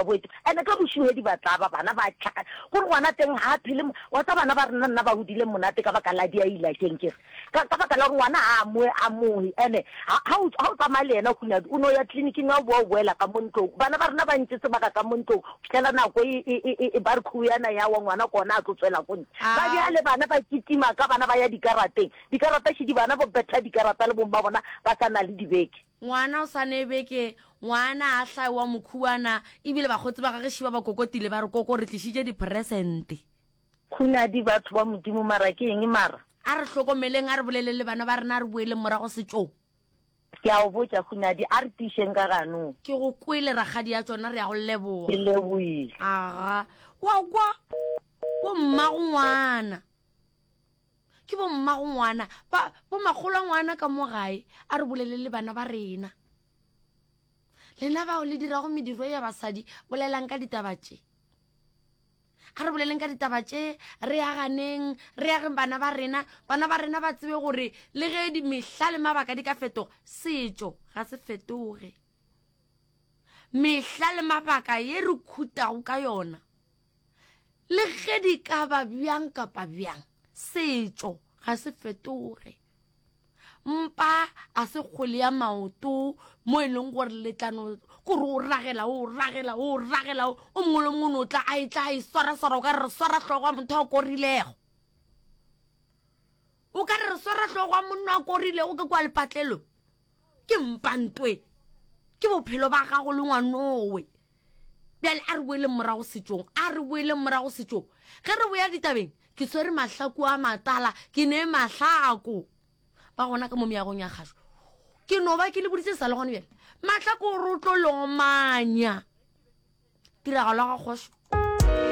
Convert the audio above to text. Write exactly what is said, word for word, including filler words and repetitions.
ba boetše. Ene ka bošuhedi ba tla ba bana ba tlhakana. Gore ngwana teng ga a phele, wa tseba bana ba rena nna ba hodile monate ka baka la diaila keng ke re. Ka, ka baka la gore ngwana ga a amohe, amohe. Ene ha, ha o, ha o tsamaya le yena Hunadi, o no ya tleliniking ha o boa o boela ka mo ntlong. Bana ba rena ba ntše sebaka ka mo ntlong go fihlela nako e, e, e, e, e ba re khuyana ya wa ngwana ke ona a tlo tswela ko ntle. Ba bjale bana ba kitima ka bana ba ya dikarateng. Dikarata šidi bana ba betha dikarata le bomma bona ba sa na le dibeke. Ngwana o sa ne beke, ngwana a hlae wa mokhuwana, ebile bakgotsi ba gage šiba ba kokotile ba re koko re tlišitše dipresente. Khunadi, Batho ba Modimo mara ke eng mara? A re hlokomeleng, a re boleleng le bana ba rena, a re boeleng morago setšong. Ke a go botša Khunadi, a re tiišeng ka ganong. Ke go kwele rakgadi ya tšona, re a go leboga. Ke leboile. Aga, wa kwa? Bo mmago ngwana. Ke bo mmago ngwana, ba, bo makgolo a ngwana ka mo gae, a re boleleng le bana ba rena. Lena bao le dirago mediro ya basadi, bolelang ka ditaba tše. A re boleleng ka ditaba tše, re aganeng, re ageng bana ba rena, bana ba rena ba tsebe gore le ge mehla le mabaka di ka fetoga, setšo ga se fetoge. Mehla le mabaka ye re khutago ka yona, le ge di ka ba bjang kapa bjang, setšo ga se fetoge. Mpa a se kgwele ya maoto mo e leng gore le tla no kore o ragela o ragela o ragela o mongwe le mongwe o no tla a e tla a e swaraswara o ka re re swara hlogo ya motho a korilego o ka re re swara hlogo ya monna a korilego ke kwa lepatlelo ke mpantwe ke bophelo ba gago le ngwanowe bjale a re boeleng morago setšong a re boeleng morago setšong ge re boya ditabeng ke swere mahlaku a matala ke ne mahlako ba gona ka mo meagong ya kgašo ke no ba ke le boditse sa le gone bjale mahlako o re o tlo lomanya tiragalo ya ga kgošo.